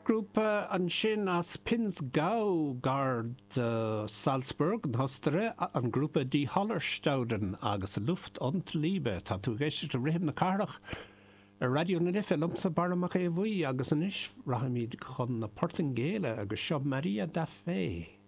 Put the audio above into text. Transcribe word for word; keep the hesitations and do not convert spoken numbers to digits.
Grúpa ansin as Pinzgau gar do Salzburg na hOstaire an grúpa Die Hallerstauden agus Luft und Liebe tá tú ag éisteacht le Rithim na Cathrach ar Raidió na Life liomsa Barra Mac Aodha Bhuí agus anois rachaimid chun na Portaingéile agus seo Maria da Fé.